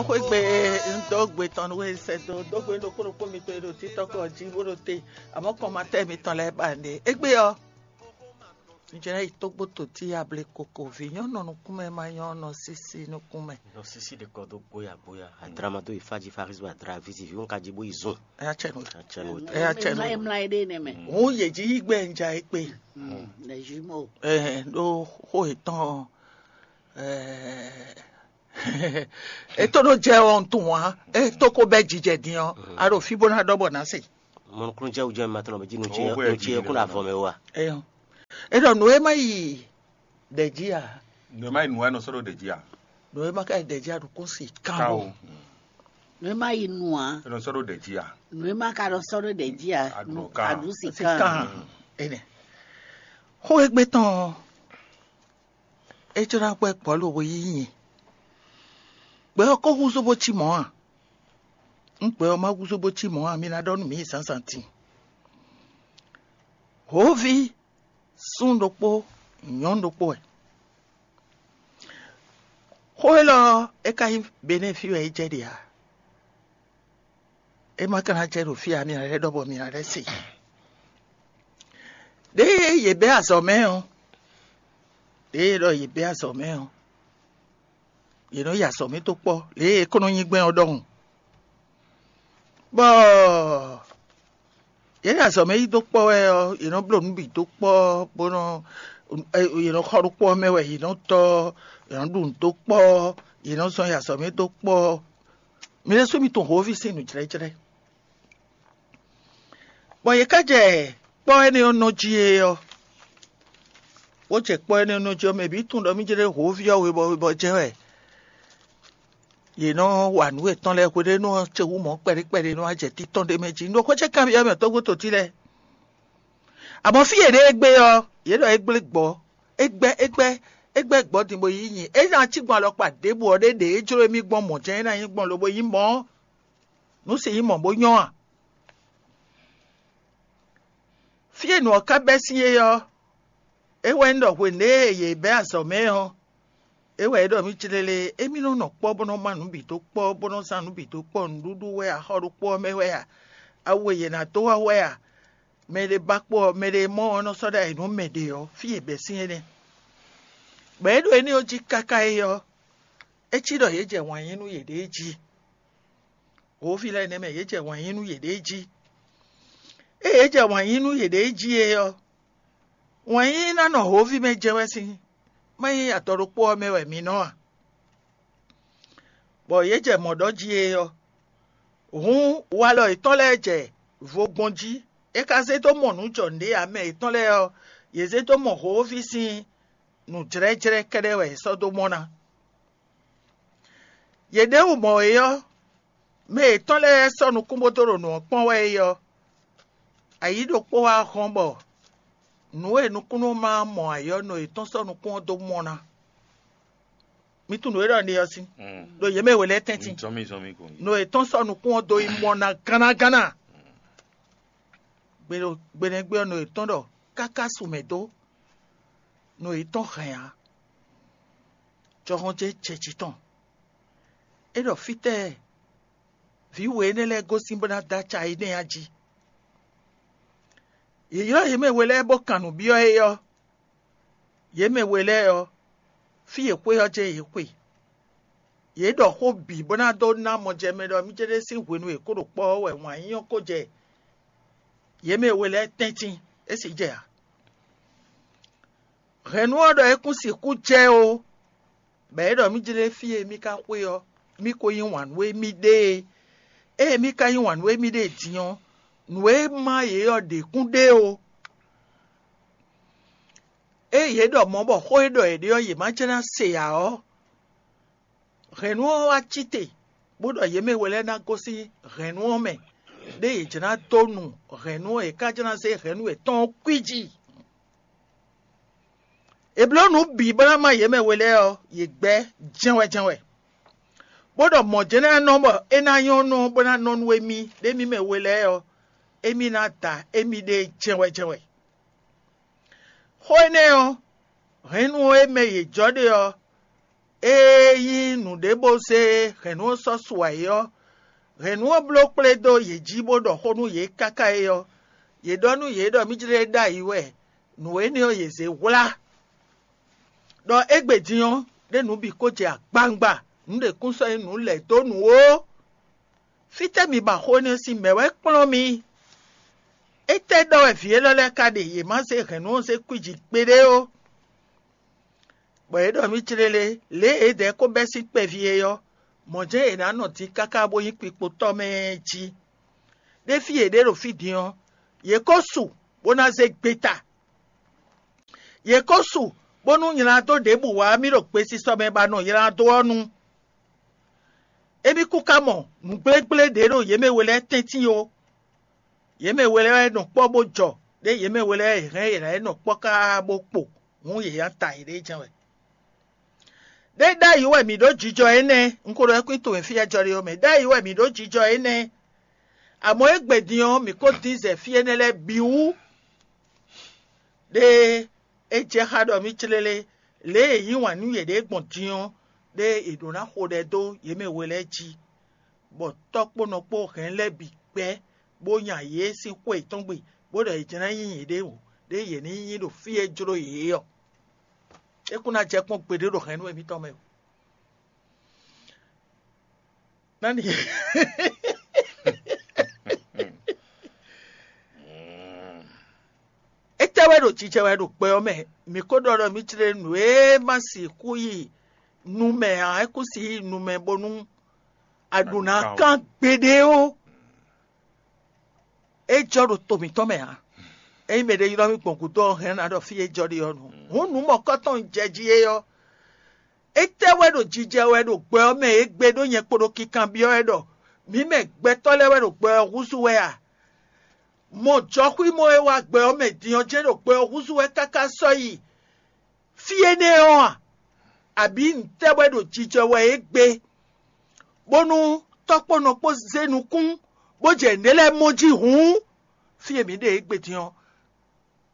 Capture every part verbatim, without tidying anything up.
Xwégbé, un dó gbe tɔn nú we sɛ́ dó dó gbe ɖokpó ɖokpó mitɔn e ɖo títɔ́ kɔ jí bó ɖo te, amɔ̌ kɔnmatɛ́ mitɔn lɛ́ɛ ba nɖe. Égbé ɔ́, un jlɛ́ yi tógbó totí able koko vǐ nyɔ́ nɔ nukún mɛ ma nyɔ́ nɔ sísí nukún mɛ. Nɔ sísí ɖe kɔ dó bóya bóya, adra ma dó yi fá jí, Farizu adra ví zi vǐ wọn ka jí bó yi zun. Ɛ yá cɛ nú. Ɛ yá cɛ nú. Ɛ yá cɛ nú. Mla mla ɖe nɛ mɛ. Hǔn yě jí yí gbɛ un ja é kpe. Lɛ jumeaux. Ɛ ɖó xó yětɔn. Ɛ é tó ɖó jɛ ɔ́ un tunwun ǎ. É tó ko bɛ́ jijɛ din ɔ́, a ɖo fí bó ná ɖɔ bɔ ná se. Mɔnukúnújɛ wú jɛ ma tɔn bɛ jí nu ce Owó nu ce yɛ kún avɔ mɛ wa. Eyɔ. É ɖɔ nǔ e má yi ɖɛ jí a? Nǔ e má yi nǔ wɛ nɔ sɔ́ ɖo ɖě jí a? Nǔ e má ka yi ɖɛ jí a ɖo kún si Ká kan o. O. Nǔ e má yi nu ǎ. É nɔ sɔ́ ɖo ɖě jí a? Nǔ e má ka ɖɔ sɔ́ ɖó ɖě jí ǎ. Aɖǔ kan. Aɖǔ si Si kan. Kan. Énɛ́. Xó e gbé tɔn ɔ́, é jló ná gbɛ́ gbɔ̌ lobo yí nyi. Gbɛ ɔ́ ko húzú bó cí mɔ̌ a? Nú gbɛ ɔ́ má húzú bó cí mɔ̌ a, mi ná ɖɔ nú mǐ zǎnzǎn din. Hǒví, súnnu ɖokpó, nyɔ̌nu ɖokpó wɛ. Xó élɔ́ ɔ́, é ka nyí Benɛ́ɛ fí wɛ é jɛ ɖe ǎ. É ma ka ná jɛ ɖo fí ǎ, mi ná lɛ́ ɖɔ bɔ mi ná lɛ́ se. Ɖěe yě bɛ́ azɔ̌ mɛ ɔ́, ɖěe ɖɔ yě bɛ́ azɔ̌ mɛ ɔ́, yě nɔ yi azɔ̌ mɛ dó kpɔ́, lě e é ko nɔ nyí gbɛn ɔ́ ɖɔhun. Bɔ yě ɖo azɔ̌ mɛ yí dó kpɔ́ wɛ ɔ́, yě nɔ bló nǔ bǐ dó kpɔ́, bó nɔ yě nɔ xɔ ɖó kpɔ́ mɛ wɛ, yě nɔ tɔ́, yě nɔ ɖu nǔ dó kpɔ́, yě nɔ zɔn yi azɔ̌ mɛ dó kpɔ́. Mi ɖésú mi tunwun hǒví sín nǔjlɛ́jlɛ́. Bɔ yě ká jɛ kpɔ́ énɛ́ ɔ́ nɔ jí é ɔ́, bó jɛ kpɔ́ énɛ́ ɔ́ nɔ jí ɔ́, mɛ bǐ tunwun ɖɔ mí jlɛ́ hǒví ɔ́ webɔ webɔ jɛ́n wɛ. Yě nɔ wa nǔ yětɔn lɛ́ɛ hweɖénu ɔ́ ce wú mɔ̌ kpɛɖé kpɛɖé nɔ wá jɛ títɔn ɖé mɛ jí. Un ɖo xwé ce kanbyɔ́ mɛ tɔ́gbó totí lɛ́ɛ. Amɔ̌ fí yě ɖe égbé ɔ́, yě ɖɔ é gblé gbɔ̌, é gbɛ́ é gbɛ́ é gbɛ́ gbɔ̌ din bó yí nyi. É ná cí gbɔn alɔkpa ɖěbǔ ɔ́ ɖé ɖě é jló émí gbɔn mɔ̌ jɛ́n é ná nyí gbɔn lobo nyí mɔ̌. Nǔ si nyí mɔ̌ bó nyɔ́ a? Fí e nǔ ɔ́ ka bɛ́ sín é ɔ́, é wɛ nyí ɖɔ hwenu e yě bɛ́ azɔ̌ mɛ ɔ́, é wɛ é ɖɔ mì clélé, émí nɔ nɔ kpɔ́ bó nɔ má nǔ bǐ dó kpɔ́, bó nɔ zán nǔ bǐ dó kpɔ́, nǔɖuɖu wɛ a, xɔ ɖokpó ɔ́ mɛ wɛ a, awu e yě ná dó wá wɛ a, mɛ ɖé ba kpó ɔ́, mɛ ɖé mɔ ɔ́ nɔ sɔ́ ɖó ayǐ nú mɛ ɖě ɔ́, fí e bɛ́ sín énɛ́. Bɔ é ɖo énɛ́ ɔ́ jí káká é ɔ́, é cí ɖɔ yě jɛ wǎn yí nú yěɖée jí. Hǒví lɛ́ɛ nɛ́ mɛ yě jɛ wǎn yí nú yěɖée jí. Ée yě jɛ wǎn yí nú yěɖée jí é ɔ́, wǎn yí ná nɔ hǒví mɛ jɛ wɛ sín, má nyí adɔ ɖokpó ɔ́ mɛ wɛ mi nɔ a? Bɔ yě jɛ mɔ̌ ɖɔ jí é ɔ́, hǔn walɔ yětɔn lɛ́ɛ jɛ vo gbɔn jí. É ka zé dó mɔ nǔ jɔ nǔɖé ǎ, mɛ yětɔn lɛ́ɛ ɔ́, yě zé dó mɔ hǒví sín nǔjlɛ́jlɛ́ kɛ́ɖɛ́ wɛ yě sɔ́ dó mɔ ná. Yě ɖěbǔ mɔ é ɔ́, mɛ yětɔn lɛ́ɛ sɔ́ nukún bó dó ɖo nǔ ɔ́ kpɔ́n wɛ é ɔ́, ayǐ ɖokpó wá hɔn bɔ nǔ e nukúnnú ma mɔ ayǐ ɔ́, nɔ yětɔn sɔ́ nukún ɔ́ dó mɔ ná. Mi tunwun nǔ e ɖɔ un ɖe ɔ́ sín, ɖo yě mɛ we lɛ́ɛ tɛ́ntin. Zɔn mì zɔn mì ko. Nɔ yětɔn sɔ́ nukún ɔ́ dó yi mɔ ná gánnágánná. Gbe ɖo gbe nɛ́ gbe ɔ́, nɔ yětɔn ɖɔ káká su mɛ dó, nɔ yětɔn hɛn ǎ. Jɔhɔn ce jɛ jǐ tɔn. É ɖɔ fítɛ́ vǐ we énɛ́ lɛ́ɛ gosín bó ná dó aca énɛ́ ɔ́ jí. Yě ylɔ́ yě mɛ we lɛ́ɛ bó kan nǔ byɔ́ é ɔ́, yě mɛ we lɛ́ɛ ɔ́, fí e xwé ɔ́ jɛ́n yě xwe. Yě ɖɔ xó bǐ bó ná dó ná mɔjɛmɛ ɖɔ mí céɖé sín hwenu e kó ɖo kpɔ́ ɔ́ wɛ wǎn yíyɔ́ ko jɛ yě mɛ we lɛ́ɛ tɛ́ntin, é sì jɛ ǎ. Hɛ̌nnu ɔ́ ɖɔ é kún sixú jɛ ó, bɔ é ɖɔ mí jlé fí e mí ka xwe ɔ́, mí ko yí wǎn nú émí ɖée. Ée mí ka yí wǎn nú émí ɖée din ɔ́, nǔ e má yě ɔ́ ɖě kún ɖe ó. Ée yě ɖɔ mɔ̌ bɔ xó e ɖɔ yě ɖe ɔ́, yě má jlɛ́ ná se ǎ ɔ́, hɛ̌nnu ɔ́ wá cí te, bó ɖɔ yě mɛ we lɛ́ɛ ná gosín hɛ̌nnu ɔ́ mɛ, ɖé yě jlɛ́ ná dó nu hɛ̌nnu ɔ́, yě ká jlɛ́ ná zé hɛ̌nnu yětɔn ɔ́ kwíji. È blǒ nǔ bǐ bó ná má yě mɛ we lɛ́ɛ ɔ́, yě gbɛ́ jɛ́nwɛ́jɛ́nwɛ, bó ɖɔ mɔ̌ jɛ́n ná nɔ bɔ é ná nyɔ́ nɔ bó ná nɔ nú émí ɖ'émí mɛ we lɛ́ɛ ɔ́, émí ná da émíɖée jɛ́nwɛ́jɛ́nwɛ. Xó énɛ́ ɔ́, hɛ̌nnu e mɛ yě jɔ ɖe ɔ́, Ée nyí nǔɖé bó zé hɛ̌nnu ɔ́ sɔ́ su ayǐ ɔ́, hɛ̌nnu ɔ́ bló kplé dó yě jí bó ɖɔ xó nú yě káká é ɔ́, yě ɖɔ nú yě ɖɔ mí jlé ɖ'ayǐ wɛ, nǔ énɛ́ ɔ́ yě zé hwlá. Ɖɔ égbé din ɔ́, ɖé nǔ bǐ ko jɛ agbawungba, nǔ ɖě kún sɔ́ nyí nǔ lɛ̌ dó nǔ ó. Fítɛ́ mi ba xó énɛ́ sín mɛ̌ wɛ kplɔ́n mi? Étɛ́ ɖɔ wɛ vǐ élɔ́ lɛ́ɛ ka ɖe yě má zé hɛ̌nnu ɔ́ zé kwíji kpéɖé ó? Bɔ yě ɖɔ mì clélé, lě e yědɛɛ ko bɛ́ sín kpɛví é ɔ́, mɔ̌ jɛ́n yě ná nɔ din káká bó nyí kpikpotɔ́ mɛ jí. Ɖé fí yě ɖe ɖo fí din ɔ́, yě ko su bó ná zé gbeta. Yě ko su bónú nylá dó ɖěbǔ wá mì ɖo gbesisɔ mɛ ba nɔ nylá dó ɔ́ nu. Émí kún ka mɔ nǔgblégblé ɖě ɖo yě mɛ we lɛ́ɛ tɛ́ntin ó. Yě mɛ we lɛ́ɛ wɛ nɔ kpɔ́ bó jɔ, ɖé yě mɛ we lɛ́ɛ wɛ è hɛn yě ná yi nɔ kpɔ́ káá bó kpo, hǔn yě nya ta yěɖée jɛ́n wɛ. Ɖé ɖ'ayǐ wɛ mǐ ɖó jijɔ énɛ́, un ko ɖɔ kwín towe fí e jɔ ɖe ɔ́ mɛ, ɖ'ayǐ wɛ mǐ ɖó jijɔ énɛ́. Amɔ̌ égbé din ɔ́, mǐ ko dín zɛ fí énɛ́ lɛ́ɛ bǐ wú. Ɖé é jɛ xá ɖɔ mì clélé, lě e è yí wǎn nú yěɖée gbɔn din ɔ́, ɖé è ɖǒ ná xo ɖɛ dó yě mɛ we lɛ́ɛ jí, bɔ tɔ́ kpó nɔ kpó hɛn lɛ́ɛ bǐ gbɛ́, bó nya yě sín xwé yětɔn gbe, bó ɖɔ yě jlɛ́n nyí yěɖée wǒ, ɖé yě ní nyí ɖo fí e jló yě é ɔ́. É kún ná jɛ kpɔ́n gbeɖé ɖo hɛ̌nnu émítɔn mɛ ó. Nani? Étɛ́ wɛ ɖo jijɛ wɛ ɖo gbɛ ɔ́ mɛ? Mǐ ko ɖɔ ɖɔ mì jlé nǔ e ma sixú yi nu mɛ ǎ, é kún si yi nu mɛ bónú a ɖǒ ná kán gbeɖé ó. É jɔ ɖo to mǐtɔn mɛ ǎ. Ényí mɛɖé ylɔ́ mì gbɔn gǔdo ɔ́, hɛn ná ɖɔ fí e jɔ ɖe ɔ́ nu. Hǔn nǔ mɔ̌kɔtɔn un jɛ jí é ɔ́, étɛ́ wɛ ɖo jijɛ wɛ ɖo gbɛ ɔ́ mɛ égbé ɖó nyɛ kpo ɖo kinkanbyɔ́ wɛ ɖɔ mǐ mɛ gbɛtɔ́ lɛ́ɛ wɛ ɖo gbɛ ɔ́ húzú wɛ a? Mɔ jɔxwímɔ e wá gbɛ ɔ́ mɛ din ɔ́ jɛ́n ɖo gbɛ ɔ́ húzú wɛ káká sɔ́ yi fí énɛ́ ɔ́ a? Abǐ ntɛ́ wɛ ɖo jijɛ wɛ é gbé, bónú tɔ́ kpó nɔ kpó zé nukún, bó jɛ nǔɖé lɛ́ɛ mɔ jí hǔn? Fí e mǐ ɖe égbé din ɔ́,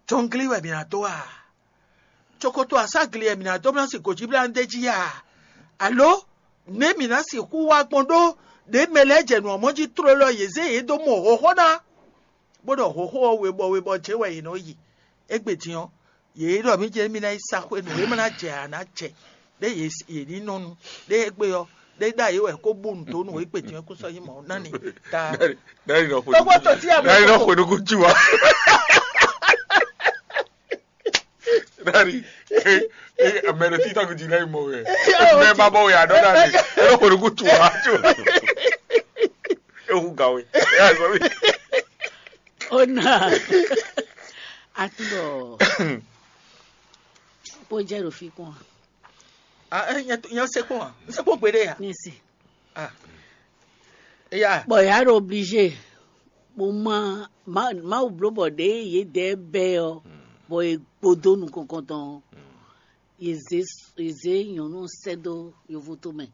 jɔngli wɛ mǐ ná dó a? Cokoto aságli wɛ mǐ ná dó bló ná sin gǒjíblánú d'é jí a? Alo nɛ̌ mǐ ná sixú wá gbɔn ɖó ɖě mɛ lɛ́ɛ jɛ nǔ ɔ́ mɔ jí tlóló yě zé yě dó mɔ hlɔ̌nhlɔ́n ná, bó ɖɔ hlɔ̌nhlɔ́n ɔ́ webɔ webɔ jɛ́n wɛ yě nɔ yi? Égbé din ɔ́, yě ɖɔ mì jɛ́n mì ná yi sa xwé nǔ e ma ná jɛ ǎ ná jɛ, ɖé yě ní nɔ nu, ɖé égbé ɔ́, ɖé ɖ'ayǐ wɛ kó bú nǔ dó nú égbé din ɔ́ kó sɔ́ nyí mɔ̌ ná ni. Ta Dari nɔ xwe Tɔgbo tɔ ti ame Dari nɔ xwe nuku ju wa. Dari. Ame ɖo TikTok dzi lɛ mɔ wɛ. Mɛ ba bɔ wɛ adɔ dari. Eno xwe nuku ju wa. Ehu ga we. Ya zɔ mi. Ona. Atúbọ̀. Bó jẹ́ ɖo fi kún wa. Ah, eh, nyɛ nyɛ se kpɔn wa. N se kpɔn gbeɖe ya. Ní si. Ah. Eya. Bɔ ya ɖo obligé. Mo ma ma Mawu bló bɔ ɖě yě dɛ bɛ ɔ, bɔ è gbodó nukɔn kɔntɔn ɔ, yě zé yě zé nyɔ̌nu ɔ́ sɛ́ dó yovo tomɛ,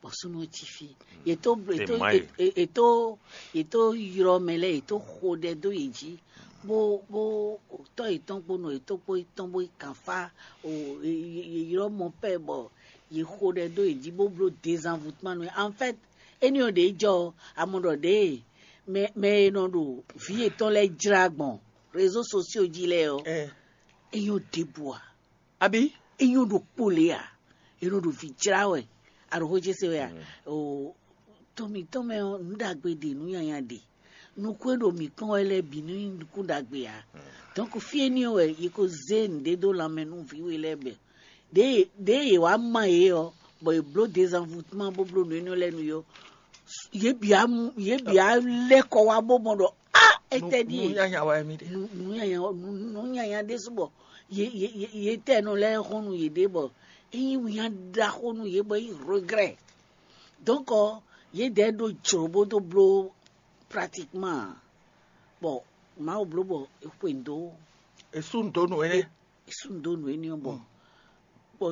bɔ súnnu ɔ́ cí fí. Yě tó yě tó yě tó yě tó ylɔ́ mɛ lɛ́ɛ, yě tó xo ɖɛ dó yě jí, bó bó tɔ́ yětɔn kpó nɔ yětɔn kpó yětɔn bó yi kǎnfá o, yě ylɔ́ mɔ pɛ́ bɔ yě xo ɖɛ dó yě jí bó bló dézanvutmanu. En fait, éní ɔ́ ɖě jɔ ɔ́, a mɔ ɖɔ ɖěe mɛ mɛ e nɔ ɖo vǐ yětɔn lɛ́ɛ jlá gbɔn réseaux sociaux jí lɛ́ɛ ɔ́, é nyɔ́ ɖěbǔ ǎ. Abǐ? É nyɔ́ ɖokpó lě ǎ. È nɔ ɖo vǐ jlá wɛ. A ɖo xó ce se wɛ a? Oo, to mǐtɔn mɛ ɔ́, nǔ ɖagbe ɖe, nǔ nyanya ɖe. Nukún e ɖo mǐ kpɔ́n wɛ lɛ́ɛ bǐ nɔ nyí nukún ɖagbe ǎ. Donc fí éní ɔ́ wɛ è ko zé nǔɖé dó lanmɛ nú vǐ we lɛ́ɛ bɔ ɖěe ɖěe è wǎ ma yě ɔ́, bɔ è blǒ dézanvutmán bó bló nǔ énɛ́ lɛ́ɛ nú yě ɔ́, yě bǐ á mú yě bǐ á lɛ́ kɔ wá bó mɔ ɖɔ á étɛ́ ɖíe nǔ nyanya wɛ mì ɖe. Nǔ nyanya nǔ nyanya ɖésú bɔ yě yě yě yě tɛ nɔ lɛ́ xɔ́n nú yěɖée bɔ é nyí winnyá ɖaxó nú yě bɔ é nyí regret. Donc yědɛɛ ɖó jlǒ bó dó bló pratiquement ǎ. Bɔ Mawu bló bɔ è xwe nǔ dó è sú nǔ dó nǔ énɛ́. È sú nǔ dó nǔ énɛ́ ɔ́ bɔ bɔ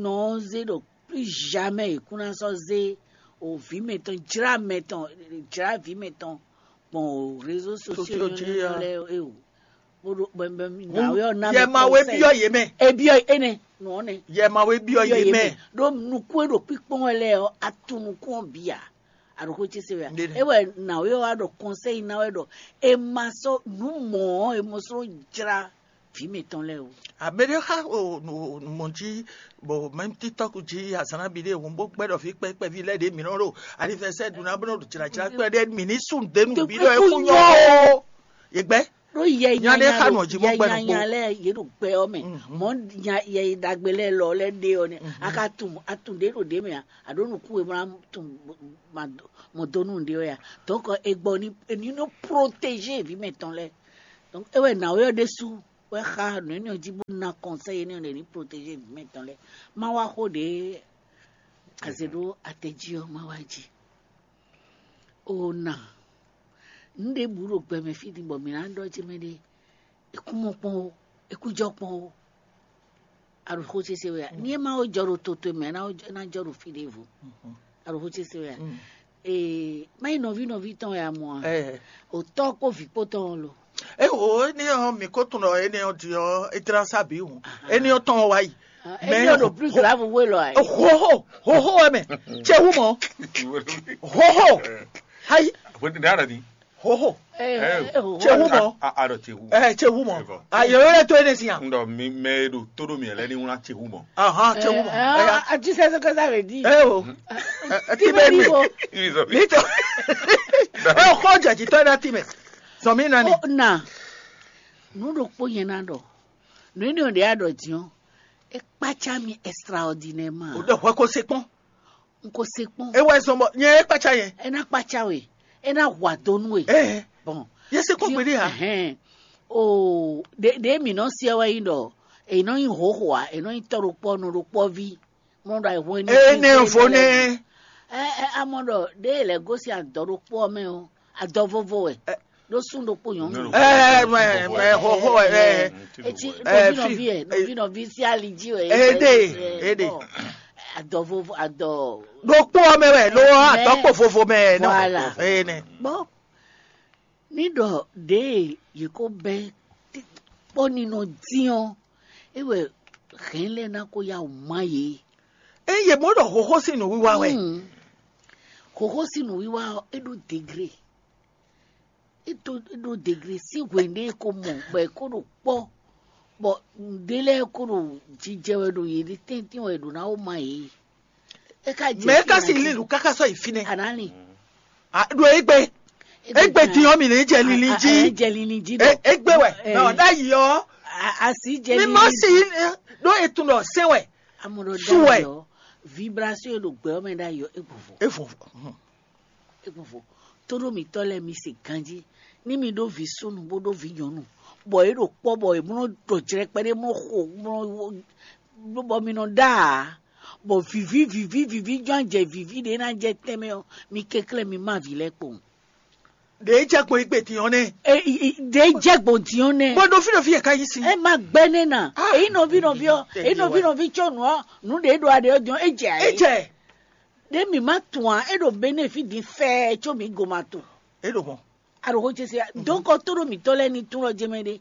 nɔ ɔ́ zé ɖɔ plus jamais è kún ná sɔ́ zé o vǐ mɛtɔn jlá mɛtɔn jlá vǐ mɛtɔn gbɔn o réseaux sociaux jí lɛ́ɛ é o. Bó ɖo bɛnbɛn nǎwe ɔ́ ná yɛ ma wé byɔ́ yě mɛ. E byɔ́ énɛ́ nɔ ɔ́ nɛ. Yɛ ma wé byɔ́ yé mɛ. Ɖó nukún e ɖo kpíkpɔ́n wɛ lɛ́ɛ ɔ́, atún nukún ɔ́ bǐ ǎ. Aɖǒxó ce se wɛ a? É wɛ nǎwe ɔ́ wá ɖɔ kɔnsɛ́yi ná wɛ ɖɔ è ma sɔ́ nǔ mɔ̌ ɔ́, è mɔ sɔ́ jlá vǐ mǐtɔn lɛ́ɛ o. Amɛɖé xa mɔ jí bɔ mɛm TikTok jí azǎn ná bi ɖé hǔn bó gbɛ́ ɖɔ fí kpɛ́kpɛ́ví lɛ́ɛ ɖě mǐ nɔ ɖo anivɛsɛ́ ɖu ná bó nɔ ɖo jlǎjlá kpɛ́ ɖé mǐ ní sú nǔɖé nú bǐ ɖɔ é kú nyɔ o. Yě gbɛ́. Ɖó yɛ Nya ɖé nyanya xa nɔ jí bó yɛ gbɛ́ nukpó. Nyanya lɛ́ɛ yě ɖo gbɛ ɔ́ mɛ. Mhm. Mɔ̌ nya yɛ yi ɖagbe lɛ́ɛ lɔ lɛ́ɛ ɖe ɔ́ nɛ́. Mhm. A ka tunwun a tunwun ɖě ɖo ɖě mɛ a? A ɖǒ nukún e mlá tunwun ma dó mɔ dó nú ɖě ɔ́ ya. Donc e gbɔ ní ní nɔ protéger vǐ mɛtɔn lɛ́ɛ. Donc é wɛ nǎwe ɔ́ ɖésú wɛ xa nǔ énɛ́ ɔ́ jí bó ná conseil énɛ́ ɔ́ ɖě ní protéger vǐ mɛtɔn lɛ́ɛ. Má wá xó ɖě azě ɖó atɛ jí ɔ́ má wá jí. O na nǔ ɖěbǔ ɖo gbɛmɛ fí din bɔ mǐ ná ɖɔ jí mɛ ɖé. È kú mɔ kpɔ́n ó, è kú jɔ kpɔ́n ó. Aɖǒxó ce se wɛ a? Ní é má wó jɔ ɖo toto mɛ, é ná wó jɔ- é ná jɔ ɖo fí ɖěvo. Aɖǒxó ce se wɛ a? Ee, má nyí nɔví nɔví tɔn wɛ a mɔ a? Ɛ, O tɔ́ kpó vǐ kpó tɔn ɔ́ lo. Eho, énɛ́ ɔ́, mǐ ko tunwun ɖɔ énɛ́ ɔ́ din ɔ́, é dlán sá bǐ hǔn. Énɛ́ ɔ́ tɔn ɔ́ wá yi. Mɛ Énɛ́ ɔ́ ɖo plus grave wé lɔ a? Hoho, hoho wɛ mɛ. Tse hu mɔ. Hoho. Hayi, Bó ti dára ni. Hoho. Ɛ, Eh, ɛ, o- Tse hu mɔ. A- a- Arɔ tse hu. Ɛ, tse hu mɔ. Ayɔyɔ lɛ to énɛ́ si yan. Ŋdɔ mi mɛ e ɖo tó ɖo mi lɛ ní wlán tse hu mɔ. Ahan, tse hu mɔ. Ɛ, Ɛya. A- tu sais ce que ça veut dire? Ɛ o. Ɛ, ɛ, Ti ti bɛ bɛ mi. Nivo. Ibi sɔ mi. Nito. Ɛ o xɔ jɛ jitɔ na ti mɛ. Sɔmi nani. O na. Nǔ ɖokpó nyɛ ná ɖɔ. Nǔ énɛ́ ɔ́ ɖě a ɖɔ din ɔ́, é kpácá mì extraordinairement. O ɖɔ hwɛ ko se kpɔn. N ko se kpɔ́n. E wɛ zɔn bɔ nyɛ e kpácá yɛ. É ná kpácá we, é ná hu ado nú we. Ɛɛ. Bon. Yɛ se kpɔn gbeɖé ha. Ɛhɛn. O ɖe ɖe mǐ nɔ siɛ wɛ nyí ɖɔ è nɔ nyí hoho a, è nɔ nyí tɔ́ ɖokpɔ́ nɔ ɖokpɔ́ví. Mɔ ɖɔ ayihun e ní. Ee ne vo ne. Ɛ ɛ amɔ ɖɔ ɖe lɛ gosín adɔ ɖokpó ɔ́ mɛ o, adɔ vovo wɛ. Ɖó sún ɖokpó nyɔ̌nu. Ɛɛ mɛ mɛ hoho ɛ. Etsi Ɛ, nɔvi fi- nɔvi ɛ nɔvi nɔvi sí ali jí wɛ. Ede, ede. Adɔ vovo adɔ. Ɖokpó ɔ́ mɛ wɛ ló atɔ́kpó vovo mɛ nɔ. Voilà. Ene. Bɔn ní ɖɔ ɖě yě kó bɛ́ kpɔ́ ninɔ dín ɔ́, é wɛ hɛn lɛ́ɛ ná kó yá wǔ má yě. Eye mɔ ɖɔ hoho sín nǔwiwa wɛ. Hmm. Hoho sín nǔwiwa ɔ́, é ɖó degré. É ɖó é ɖó degré sín hwenu e é ko mɔ bɔ é ko ɖo kpɔ́, bɔ nǔɖé lɛ́ɛ ko ɖo jijɛ wɛ ɖo yě ɖi tɛ́ntin wɛ ɖo ná wó ma yě. É ka jɛ Mɛ é ka si lin nǔ káká sɔ́ yi fínɛ́. Anani. Ɖo égbé. Égbé din ɔ́ mì ní jɛ linlin jí. Jɛ linlin jí. Égbé wɛ. Mɛ ɔ́ ɖ'ayǐ ɔ́. Asi jɛ mi má linlin si jí. Ɖó etun ɖɔ sɛn wɛ. Amɔ ɖɔ Su wɛ. Ɖ'ayǐ ɔ́, vibration e ɖo gbɛ ɔ́ mɛ ɖ'ayǐ ɔ́, é gbɔn vo. Evo. É gbɔn vo. Tóɖó mǐtɔn lɛ́ɛ mi se ganjí. Ní mi ɖó vǐ súnnu bó ɖó vǐ nyɔ̌nu, bɔ é ɖo kpɔ́ bɔ è mlɔ ɖɔ jlɛ́ kpɛɖé mlɔ xo mlɔ bɔ mi nɔ ɖá ǎ, bɔ vǐví vǐví vǐví jɔ́n jɛ vǐví ɖě ná jɛ tɛnmɛ ɔ́, mi kɛnklɛ́n mi má vǐ lɛ́ɛ kpowun. Ɖě jɛ gbɔn igbe din ɔ́ nɛ. Ɖě jɛ gbɔn din ɔ́ nɛ. Bɔ ɖo fí ɖo fí yɛ ka yí si. Ɛ má gbɛ nɛ na. Èyí nɔví nɔví ɔ́, èyí nɔví nɔví tsɔ nǔ ɔ́, nǔ ɖě ɖo aɖě ɔ́ din ɔ́, é jɛ ayé. É jɛ. Ɖě mǐ má tunwun ǎ, é ɖo bénéfi din fɛ́ɛ có mǐ go ma tunwun. É ɖo mɔ. Aɖo xó ce se ya. Donc ɔ tó ɖo mǐtɔn lɛ́ɛ ní tún lɔ jɛ mɛ ɖé.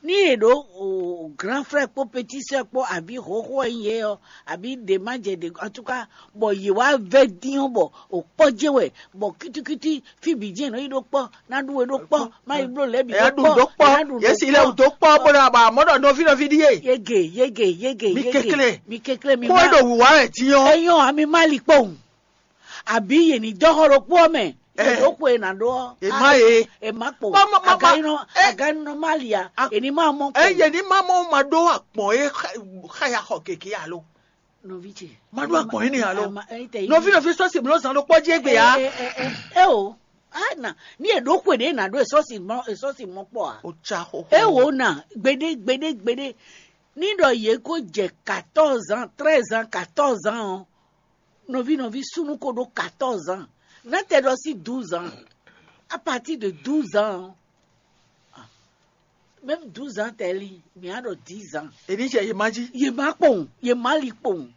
Ní è ɖǒ o grand frère kpó petit sœur kpó àbí xóxó ɛ nyí yě ɔ́, àbí ɖě má jɛ ɖě en tout cas, bɔ yě wá vɛ́ dín ɔ́ bɔ o kpɔ́ jɛ́n wɛ, bɔ kítíkítí fí bǐ jɛ́n è nɔ yi ɖó kpɔ́, ná ɖu we ɖó kpɔ́, má yi bló lɛ̌ bǐ Ɛ ɖu ɖó kpɔ́. Ɛ ɖu ɛ si lɛ wǔ dó kpɔ́ bó ɖo aba mɔ̌ ɖɔ nɔví nɔví ɖíe. Yege yege yege Mi yege. Kekle. Mi kekle mi Kó má. Ɖo wǔwá wɛ dín ɔ́. Eyɔn ami má li kpɔ́n. Àbí yě ní dɔ́ xɔ ɖokpó ɔ́ mɛ. Ɛ. Yě ɖó xwe è nǎ ɖó ɔ́. È má ye. È má kpo. Má, má, má, má. Aganɔ Ɛ. Aganɔ má li a. A. È ní má mɔ kpo. Eye ní má mɔ ma ɖó akpɔn e xa ya xɔ keke alo. Nɔvi ce. Ma ɖó akpɔn yín ni alo. Nɔvi nɔvi sɔsi mlɔ zan ɖokpɔ jí egbe ya. Ɛ o. Ana ní è ɖó xwe ɖé è nǎ ɖó èsɔsi mɔ èsɔsi mɔ kpɔ a. O tsa xo. E wo na gbeɖé gbeɖé gbeɖé. Ní ɖɔ yě kó jɛ quatorze ans, treize ans, quatorze ans ɔ́, nɔví nɔví súnnu ko ɖó quatorze ans. Nátɛ ɖɔ sí douze ans. À partir de douze ans ɔ́, même douze ans tɛ li, mǐ á ɖɔ dix ans. Èmi jɛ yě má jí. Yě má kpowun, yě má li kpowun,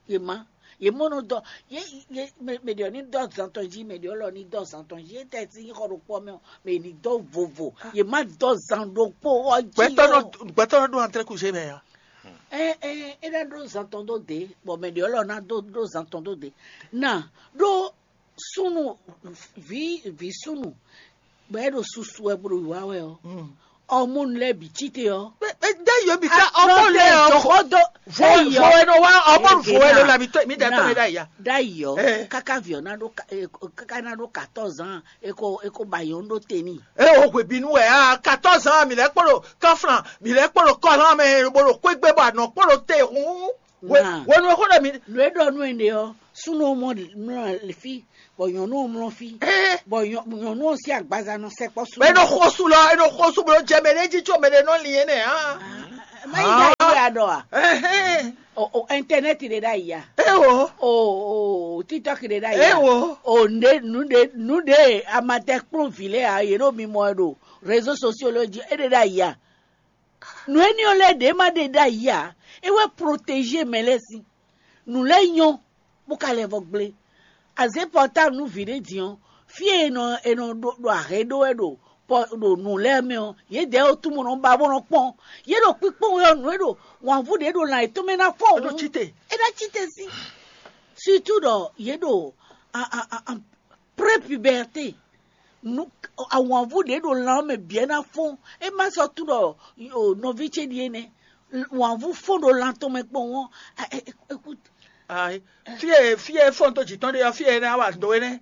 yě má. Yě mɔ nɔ dɔ yě yě mɛ ɖě ɔ́ ní dɔ zan tɔn jí, mɛ ɖě ɔ́ lɔ ní dɔ zan tɔn jí. Yě tɛ sín xɔ ɖokpó mɛ ɔ́, mɛ ní dɔ vovo. Yě má dɔ zan ɖokpó ɔ́ jí. Gbɛtɔ́ nɔ gbɛtɔ́ nɔ ɖó antrɛkúzé mɛ ya. Ɛ ɛ é ná ɖó zan tɔn dó dě, bɔ mɛ ɖě ɔ́ lɔ ná dó ɖó zan tɔn dó dě. Na ɖó súnnu vǐ vǐ súnnu bɔ é ɖo susu wɛ bó ɖo wá wɛ ɔ́, ɔmɔnu lɛ́ɛ bǐ cí te ɔ́. Dé yǒ bǐ ká ɔmɔ lɛ ɔ jɔxɔ dó vo vo ɛ nɔ wá ɔmɔ vo ɛ ló la mi tɔ mi dɛ tɔ mi ɖa ya. Ɖ'ayǐ ɔ́, kaka vǐ ɔ́ ná ɖó kaka ná ɖó katɔ́ zán é ko é ko ba yɔn ɖó te n'i. E o hwe bínú wɛ a katɔ́ zán mi lɛ kpɔɖo kɔflan mi lɛ kpɔɖo kɔlán mɛ bó ɖo xwé gbé bɔ anɔ kpɔɖo te hun. Wenu e xó ɖɔ mi. Nǔ e ɖɔ nú ɛnɛ ɔ́, súnnu ɔ́ mɔ mlɔ fí, bɔ nyɔ̌nu ɔ́ mlɔ fí, bɔ nyɔ̌nu ɔ́ sín agbaza nɔ sɛkpɔ́ súnnu. Bɛ nɔ xɔsu lɔ, e nɔ xɔsu bó jɛ mɛ ɖé jí tso mɛ ɖé nɔ lin é nɛ hã. Má yi ɖ'ayǐ wɛ a ɖɔ a? O o ɛntɛnɛti ɖe ɖ'ayǐ a? Ewo. O o titɔki ɖe ɖ'ayǐ a? Ewo. O nɖe nu ɖe nu ɖe amatɛ kplɔ́n vǐ lɛ́ɛ a yě ɖo mimɔ ɛ ɖo réseaux sociaux lɔ jí é ɖe ɖ'ayǐ a? Nǔ énɛ́ ɔ́ lɛ́ɛ ɖě ma ɖe ɖ'ayǐ ǎ. É wɛ protézé mɛ lɛ́ɛ sín. Nǔ lɛ́ɛ nyɔ́, bó ka lɛ́ vɔ gblé. Azě pɔtáblu nú vǐ ɖé din ɔ́, fí e è nɔ è nɔ ɖo ɖo ahɛ̌ ɖó wɛ ɖo pɔ ɖo nǔ lɛ́ɛ mɛ ɔ́, yědɛɛ ɔ́ tunwun nɔ ba bó nɔ kpɔ́n. Yě ɖo kpíkpɔ́n wɛ ɔ́, nǔ e ɖo wǎnvú ɖě ɖo lan yětɔn mɛ ná fɔ wǔ. Cíte. É ná cíte sín. Surtout ɖɔ yě ɖo a a a a prépuberte. Awǎnvú ɖě ɖo lan ɔ́ mɛ bǐ ɛ ná fɔ́n. É má sɔ́ tunwun ɖɔ nɔví ce ɖíe nɛ́. Wǎnvú fɔ́n ɖo lan tɔn mɛ kpɔ́n ɔ́. Fí e fí e fɔ́n tó jǐ tɔn ɖe ɔ́, fí e ná wa do é nɛ́.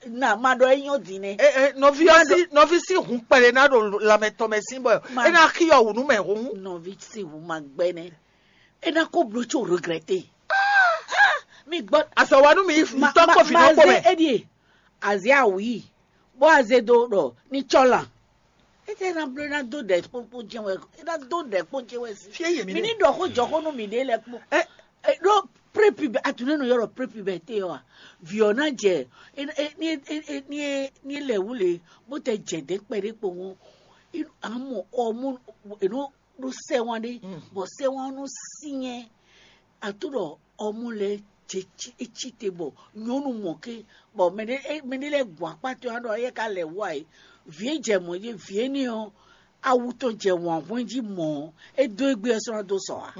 Na ma ɖɔ é nyɔ́ din nɛ́. Nɔví ɔ́ sí nɔví sí hun kpɛɖé ná ɖo lanmɛ tɔn mɛ sín bɔ é ná xí ɔ́ wǔ nú mɛ hun. Nɔví sí hun ma gbɛ́ nɛ́. É ná kó bló có regretter. Mi gbɔ. Azɔ̌wanu mi mi tɔ kpó fi nɔ kpó mɛ. Eɖie azia wi bó aze do ɖɔ ní tsɔ lan. Ete na bló ná dó ɖɛ kpókpó jɛ wɛ é ná dó ɖɛ kpó jɛ wɛ si. Fie yé mi mi ní ɖɔ kó jɔ kó nú mi ɖe lɛ kpó. Ɛ ɖó prépubɛ atunɛ nɔ yɔrɔ prépubɛ te ɔ a. Viɔ ná jɛ ní ní lɛ wule bó tɛ jɛ dɛ kpɛ ɖe kpó ŋu. Amɔ ɔmú eno ɖó sɛ́ wán ɖé, bɔ sɛ́ wán nɔ syɛ́n ato ɖɔ ɔmɔ lɛ́ɛ jɛ é cí te bɔ nyɔ̌nu mɔ ké, bɔ mɛɖé mɛɖé lɛ́ɛ gbɔn akpá tɔn ɖɔ éyɛ́ ka lɛ wá é. Vǐ e jɛ mɔ̌ é vǐ énɛ́ ɔ́, awu tɔn jɛ wǎn hwɛ́n jí mɔ̌, é dó égbé ɔ́ sɔ́ ná dó sɔ ǎ.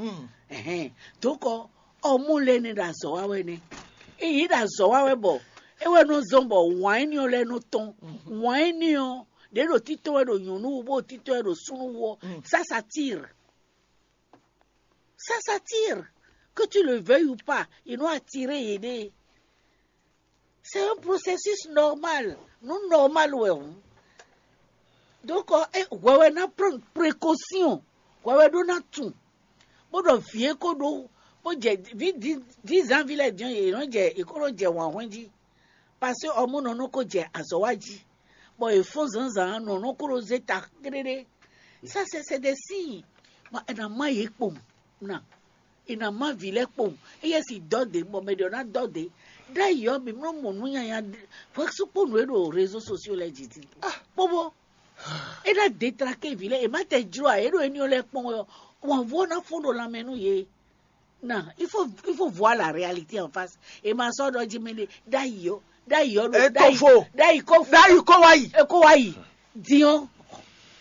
Ɛhɛn, dǒkɔ ɔmɔ lɛ́ɛ nɛ́ ɖo azɔ̌ wa wɛ nɛ́. É yě ɖo azɔ̌ wa wɛ bɔ é wɛ nɔ zɔ́n bɔ wǎn énɛ́ ɔ́ lɛ́ɛ nɔ tɔ́n. Wǎn énɛ́ ɔ́ ɖě ɖo títɔn wɛ ɖo nyɔ̌nu wú bó ɖo títɔn wɛ ɖo súnnu wú ɔ́, ça s'attire. Ça s'attire. Que tu le veuilles ou pas, ils vont attirer yéɖée. C'est un processus normal. Nous normal ouais. Donc, hwɛwɛ ná prendre précaution. Hwɛwɛ ɖó ná tun. Bó ɖɔ vǐ é kó ɖó bó jɛ ví dix ans vi lɛ diɔn yě nɔ jɛ yě kó nɔ jɛ wǎn hwɛn jí. Parce que ɔmɔ nɔ nɔ kó jɛ azɔ̌ wa jí, bɔ è fɔ́n zǎnzǎn nɔ nɔ kó ɖo zé ta kpéɖéɖé. Ça c'est c'est des signes. Bɔ è nà má yě kpowun ná, è nà má vǐ lɛ́ɛ kpowun. Éyɛ́ si dɔ́ dě bɔ mɛ ɖě ɔ́ ná dɔ́ dě. Ɖ'ayǐ ɔ́, mǐ mlɔ́ mɔ nǔ nyanya hwɛsúkpó nǔ e ɖo réseaux sociaux lɛ́ɛ jí din. Kpóbó é ná détraqué vǐ lɛ́ɛ, è má tɛ jló ǎ, é ɖo éní ɔ́ lɛ́ɛ kpɔ́n wɛ ɔ́, wǎnvú ɔ́ ná fɔ́n ɖo lanmɛ nú yě. Non, il faut, il faut voir la réalité en face. Et ma sort d'Odjimene, d'ailleurs, d'ailleurs, Etofo. D'ailleurs, Dayi Kowayi. Kowayi. Dion.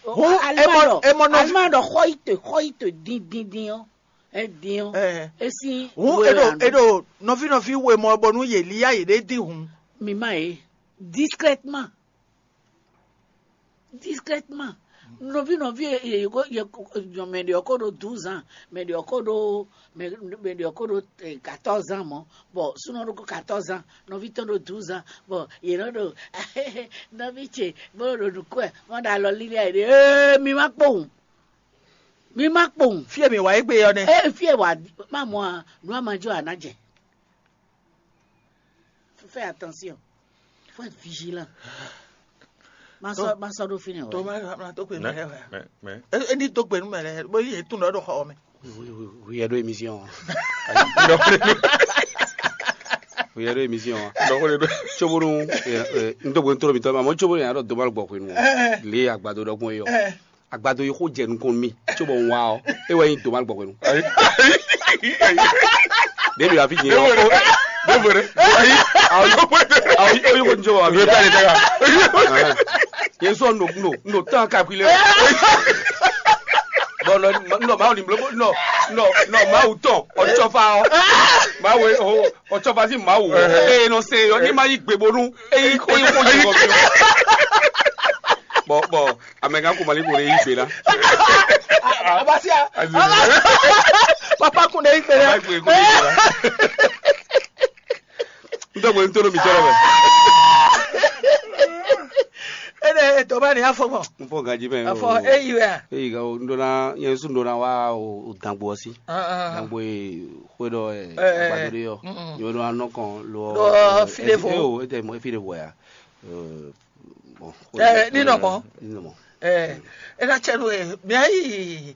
Hu, Almado, emo, emo, no. Almado, hoite, hoite, din, din, dion. Eh, dion. Eh. Esi. Hu, edo, edo, novi, novi, we mo bonu ye liya ye de di hu. Mi ma e. Discrètement. Discrètement. Nɔvi nɔvi ye ye ko ye ko mɛ ɖe ɔkɔ ɖo douze ans, mɛ ɖe ɔkɔ ɖo mɛ mɛ ɖe ɔkɔ ɖo eh, quatorze ans mɔ, bon sunɔ ɖo ko quatorze ans, nɔvi tɔn ɖo douze ans, bon ye nɔ ɖo nɔvi ce bó ɖo nukú ɛ mɔ ɖo alɔ lílí ayé ɖe ee mi ma kpowun. Mi ma kpowun. Fie mi wa egbe yɔ nɛ. Ee fie wa ma mɔ a nu a ma jɔ a na jɛ. Fais attention. Faut être vigilant. Ma sɔ ma sɔ ɖo fínɛ́ o. Tó ma ma tó pé mi rẹ wẹ. Mɛ mɛ. E e ní tó pé nu mɛ rẹ bó yẹ tún lọ ɖo xɔ mɛ. Oui, oui, oui, il y a deux émissions. Il y a deux émissions. Tsobonu n tó pé n tó mi tɔ ma mo tsobonu yàrá dɔ dɔbali gbɔ hwenu. Le agbado dɔ gbɔn yɔ. Agbado yi xó jɛ nukɔn mi tsobɔ n wa ɔ e wɛ nyi dɔbali gbɔ hwenu. Ɖevi afi jɛ. Ɖevo ɖe. Ɖevo ɖe. Ayi, ayi, ayi, ayi, ko njɔ wa. Ɖevo ɖe tɛ ka. Yésu nɔ nɔ nɔ tán kakui lɛ. Bɔn nɔ nɔ mawu ni blo nɔ nɔ nɔ mawu tɔn ɔtsɔfa ɔ mawu ɔ ɔtsɔfa si mawu ɔ eye nɔ se yɔ ni ma yi gbebonu eyi eyi ko yi kɔ bi. Bɔn bɔn amɛgan ko mali ko yi gbe na. Abasia. Papa kun de yi gbe na. N tɔgbe n tɔnɔ mi tɔrɔ mɛ. Ene etɔba ni afɔ mɔ. N fɔ gaji mɛ. Afɔ eyi wɛ a. Eyi ga o n dona yɛn su n dona wa o dangbo ɔsi. Dangbo ye xwe dɔ ɛ agbadori yɔ. Yɔ dɔ anɔ kɔn lɔ. Dɔ file fo. Eo ete mɔ file fo ya. Bon. Ɛ ninɔ mɔ. Ninɔ mɔ. Ɛ ena cɛ nu ɛ mɛ ayi.